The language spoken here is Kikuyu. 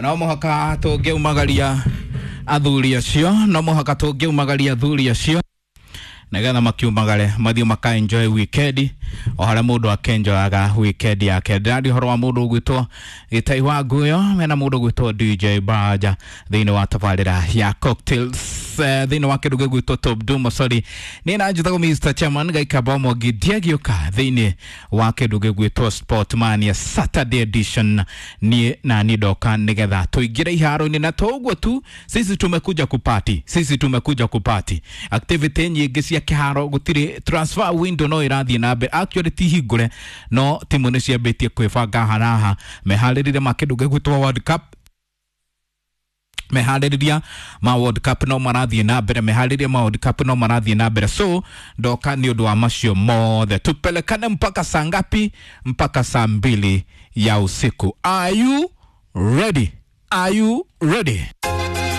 No mũhaka tũngĩaumagaria athuri acio, no mũhaka tũngĩaumagaria athuri acio nigetha makiumagare mathiĩ maka enjoy weekend o harĩa mũndũ akenjoyaga weekend yake. Ndĩraria ũhoro wa mũndũ ũgwĩtwo Gĩtai wa Nguyo mena mũndũ ũgwĩtwo DJ Baja thĩinĩ wa tabarĩra ya cocktails, thĩinĩ wa kĩndũ gĩgwĩtwo Top Dumo, sorry, niĩ na njĩtagwo Mr Chairman Gaikamba Mwangi ndiagĩũka thĩinĩ wa kĩndũ gĩgwĩtwo Sport Mania Saturday edition. Niĩ na niĩ ndoka nĩgetha tũingĩre iharo-inĩ, na to ũguo tu, sisi tumekuja kupati, sisi tumekuja kupati activity nyingĩ cia kĩharo. Gũtirĩ transfer window no ĩrathiĩ na mbere, actually ti hingũre, no timu nĩ ciambĩtie kwĩbanga haraha meharĩrĩria ma kĩndũ gĩgwĩtwo World Cup. Meharĩrĩria ma World Cup no marathiĩ na mbere, meharĩrĩria ma World Cup no marathiĩ na mbere. So ndoka nĩ ũndũ wa macio mothe. Tupelekane mpaka saa ngapi? Mpaka saa 2 ya usiku. Are you ready? Are you ready?